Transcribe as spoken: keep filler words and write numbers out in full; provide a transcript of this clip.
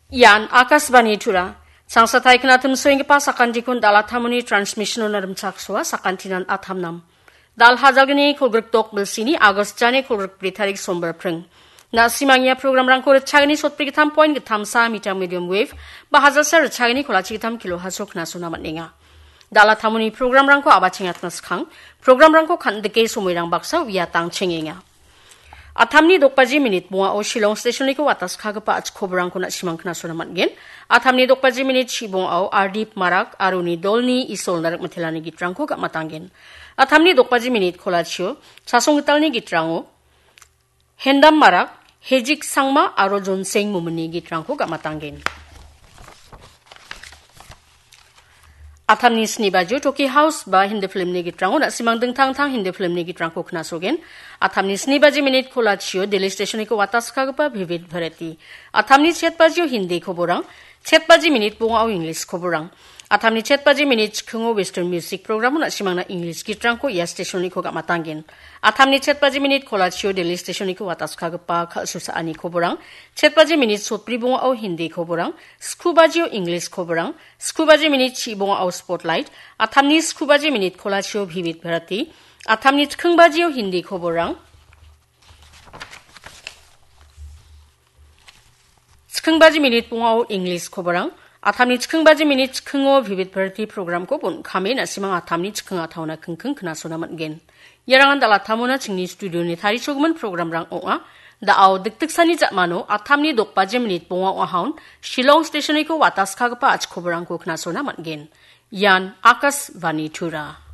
Ian Akashvani Tura. Changsatai knatim soenggipa sakantikon dalatamoni transmission-ona rimchaksoa sakantinan atamnam. Dal hajalgni kolgrikdok bilsini August jani kolgrikbri tarik sombar pring. Na·simangia programrangko ritchagni sotbri gittam point gittamsa meter medium wave ba hajalsa ritchagni kolachi gittam kilo haso knasona man·enga. Dalatamoni programrangko abachengatna skang, programrangko kan·dike somoirang baksa uiatang chengenga. Atamni dokbaji minit bongao Shillong stationiko wataskagipa achikoborangko na·simang knasona man·gen. Atamni dokbaji minit chibongao Ardip Marak aro uni dolni Isol Narikmitelani gitrangko gamatanggen. Atamni dokbaji minit kolachio Chasonggitalni gitrango Hendam Marak, Hejik Sangma aro Jonseng Momini gitrangko gamatanggen. Atamni sni bajio Toki House ba Hindi filmni gitrango na·simang dingtang dingtang Hindi filmni gitrangko knasogen. Atamni sni baji minit kolachio Delhi stationiko wataskagipa Vivid Bharati. Atamni chet bajio Hindi koborang, chet baji minit bongao English koborang. Atamni chet baji minit chikingo Western Music Programo na·simangna English gitrangko ia stationiko gamatanggen. Atamni chet baji minit kolachio Delhi stationiko wataskagipa kal·susaani koborang, chet baji minit sotbri bongao Hindi koborang, sku bajio English koborang, sku baji minit chi bongao Spotlight, atamni sku baji minit kolachio Vivid Bharati, atamni chiking bajio Hindi koborang, chiking baji minit bongao English koborang, atamni chiking baji minit chikingo Vivid Bharati programko bon·kame na·simang atamni chiking ataona kingking knasona man·gen. Iarangan dalatamona chingni studioni tarichakgimin programrang ong·a. Da·ao dikdiksani ja·mano atamni dokbaji minit bonga ong·ahaon Shillong stationiko wataskagipa achikoborangko knasona man·gen. Ian Akashvani Tura.